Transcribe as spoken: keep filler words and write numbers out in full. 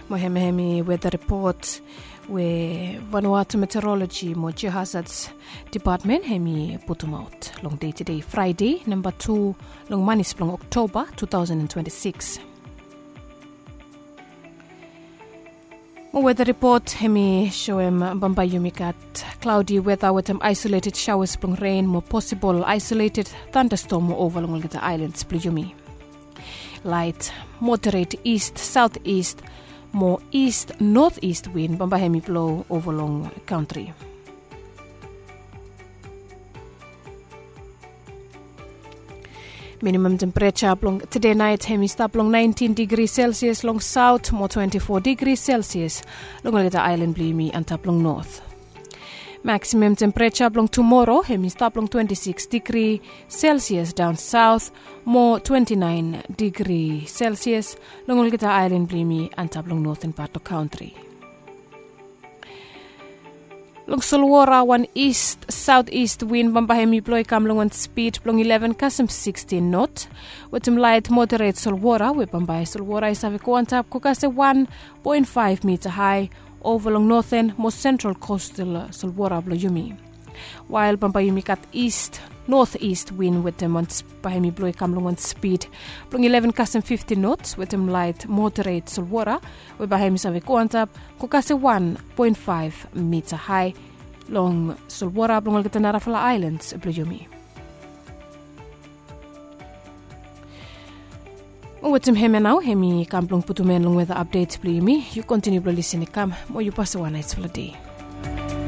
Mo hemia hemi weta ripot we Vanuatu Meteorology mo Geohazards Department hemi putumaot long dei tedei Fraede namba tu long manis blong Oktoba two thousand and twenty-six. Mo weta ripot hemi soem bambae yumi gat cloudy weta wetem isolated showers blong ren mo posibol isolated thunderstorm mo ova long olgeta aelan blong yumi. Laet moderet ist saoteast mo ist noteast win bambae hemi blo ova long kantri. Minimam tempereja blong tede naet hemi stap long naentin digri selsias long saot mo twenti fo digri selsias long olgeta aelan blong yumi antap long not. Maksimam tempereja blong tumoro hemi stap long twenti siks digri selsias daon saot mo twenti naen digri selsias long olgeta aelan blong yumi antap long noten pat blong kantri. Long solwora wan ist saoteast win bambae hemi blo i kam long wan spid blong ileven kasem sikstin not, wetem laet moderet solwora we bambae solwora i save go antap go kasem wan poen faef mita hae ova long noten mo sentral kostal solwora blong yumi. Wael bambae yumi gat ist noteast win wetem wan bae hemi blo i kam long wan spid blong ileven kasem fifti not wetem laet moderet solwora we bae hemi save go antap go kasem wan poen faef mita hae long solwora blong olgeta narafala aelan blong yumi. Mo wetem hemia nao hemi kam blong putum en long weta apdet blong yumi. Yu kontiniu blong lisin i kam mo yu pasem wan naesfala dei.